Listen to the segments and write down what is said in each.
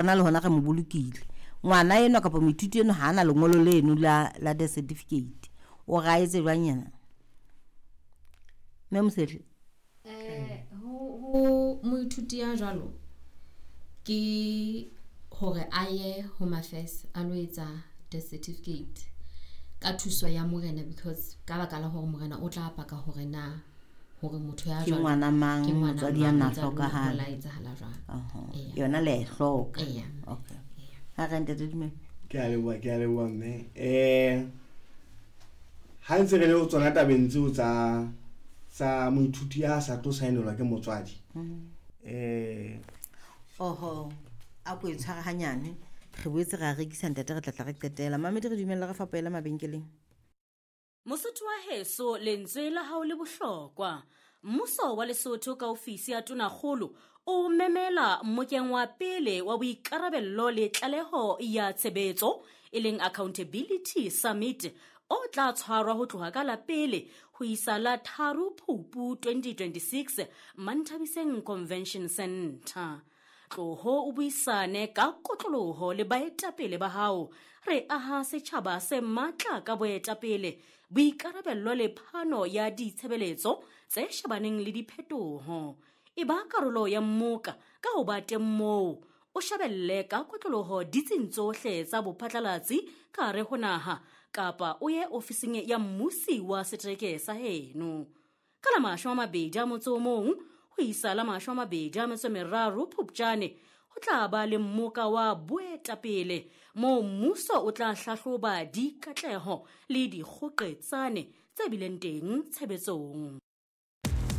Rona le hona re mo bolokile. Ngwana enwa kapa moithuti enwa ha ana lengolo leno la death certificate. O re a etse jwang yena? Mme Mosehle. Ho moithuti ya jwalo ke hore a ye Home Affairs a lo etsa death certificate ka thuso ya morena, because ka baka la hore morena o tla paka hore na hore motho ya Ke jwalo ngwana mang, ke ngwana motswadi ya mang, na motswadi o hlokahala. la etsahala jwang. Oho. Eya. Yona le a e hloka. Eya. Okay. Ha re ntate Dumelo. Ke a leboha, ke a leboha mme. Ha ntse re le ho tsona tabeng tseo tsa moithuti ya sa tlo saenelwa ke motswadi. Oho, a ko e tshware hanyane. Re boetse ra rekisa ntate, re tla tla re qetela. Mamedi, re dumella re fapela mabenkeleng. Mosotho wa heso, lentswe la hao le bohlokwa. Mmuso wa Lesotho ka ofisi ya Tonakgolo o memela mmokeng wa pele wa boikarabello le tlaleho ya tshebetso, e leng Accountability Summit, o tla tshwarwa ho tloha ka la pele ho isa la 3 Phupu 2026 Manthabiseng Convention Center. Tloho o buisane ka kotloloho le baetapele ba hao. Re aha setjhaba se matla ka boetapele, boikarabello le phano ya ditshebeletso tse shebaneng le diphetoho. E ba karolo ya mmoka ka ho ba teng moo. O shebelle ka kotloloho ditsing tsohle tsa bophatlalatsi ka hare ho naha, kapa o ye ofising ya mmusi wa setereke sa heno. Ka la 21 ho isa la 23 Phupjane, ho tla ba le mmoka wa boetapele moo mmuso o tla hlahloba dikatleho le dikgoqetsane tse bileng teng tshebetsong.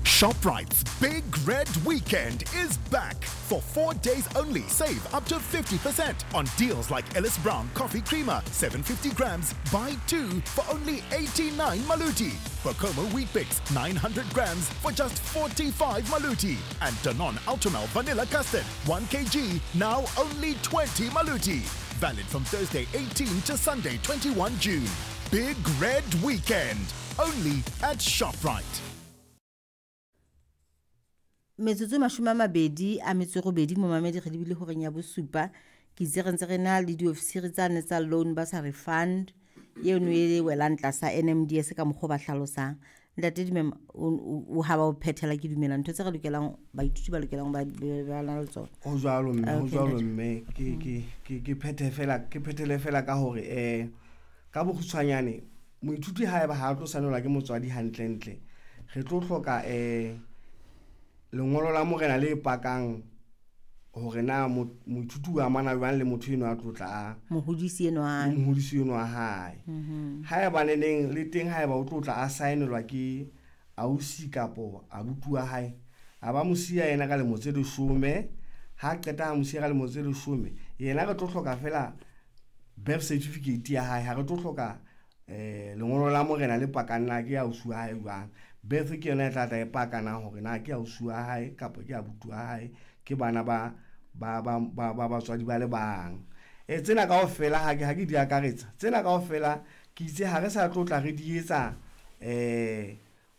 ShopRite's Big Red Weekend is back. For 4 days only, save up to 50% on deals like Ellis Brown Coffee Creamer, 750 grams, buy 2 for only 89 Maluti. Bokomo Weet-Bix, 900 grams for just 45 Maluti. And Danone Ultramel Vanilla Custard, 1 kilogram, now only 20 Maluti. Valid from Thursday 18 to Sunday 21 June. Big Red Weekend, only at ShopRite. Metsotso e 28 momamedi re lebile horeng ya bosupa. Ke itse re ntse re na le diofisiri tsane tsa loan bursary fund eno e welang tlasa NMDS ka mokgwa o ba hlalosang. Ntate Dumelo, o ha ba o phethela, ke dumela ntho tse re lokelang baithuti ba lokelang ba na le tsona. Ho jwalo mme, ho Okay, jwalo ntate. mme. Ke phethe fela, ke phethele fela ka hore, ka bokgutshwanyane moithuti haeba ha a tlo saenelwa ke motswadi hantlentle, re tlo hloka, lengolo la morena le pakang hore na moithuti o amana jwang le motho enwa a tlo tla a Mohodisi enwa wa hae. Mohodisi enwa wa hae. Haeba neneng le teng, haeba o tlo tla a saenelwa ke ausi kapo abuti wa hae, a ba mo siya yena ka lemo tse 10. Ha qeta ha mo siya ka lemo tse 10, yena re tlo hloka fela birth certificate ya hae. Ha re tlo hloka, lengolo la morena le pakang na ke ausi wa hae jwang. Birth ke yona e tla tla e pakana hore na ke ausi wa hae kapa ke abuti wa hae, ke bana ba batswadi ba le bang. Tsena kaofela ha ke di akaretsa, tsena kaofela ke itse ha re sa tlo tla re di etsa,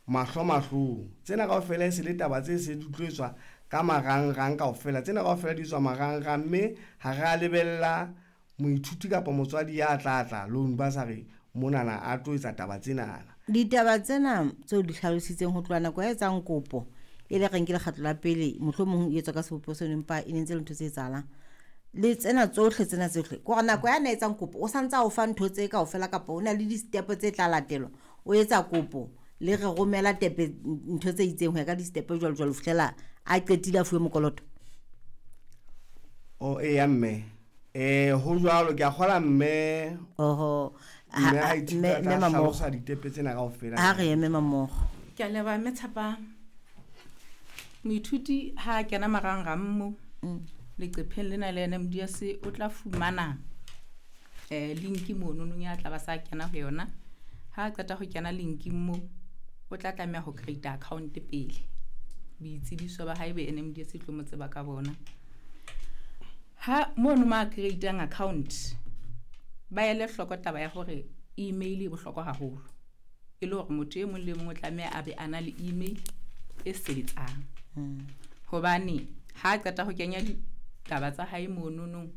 mahlo mahlong. Tsena kaofela e se le taba tse se di tlo etswa ka marangrang kaofela. Tsena kaofela di etswa marangrang, mme ha re a lebella moithuti kapa motswadi ya tla tla loan bursary monana a tlo etsa taba tsenana. Ditaba tsena tseo di hlalositseng ho tloha nako ya etsang kopo, e le reng ke lekgetlo la pele, mohlomong e etswa ka sebopeho seno, empa e ne ntse le ntho tse etsahalang. Le tsena tsohle, tsena tsohle, ke hore nako ya na etsang kopo, o santse a o fa ntho tse kaofela kapa ho na le di-step tse tla latelwa. O etsa kopo, le re romela tepe ntho tse itseng ho ya ka di-step jwalo jwalo, ho fihlela a qetile a fuwe mokoloto. O, eya mme. Ho jwalo, ke a kgola mme. Oho. Mme Ha, ha ithuta mme, tla mme Mamogo. hlalosa ditepe tsena kaofela. Ha re eme Mamogo. Ke a leboha mme Tshepang. Moithuti ha a kena marangrang mo, leqepheng lena le NMDS, o tla fumana, link mono nong ya tla ba sa kena ho yona. Ha a qeta ho kena linking mo, o tla tlameha ho create account pele. Boitsebiso ba hae be NMDS e tlo mo tseba ka bona. Ha mono ma create-ang account, ba ele hloko taba ya hore email e bohlokwa haholo. E le hore motho e mong le mong o tlameha a be a na le email e sebetsang. Hobane ha a qeta ho kenya taba tsa hae mononong.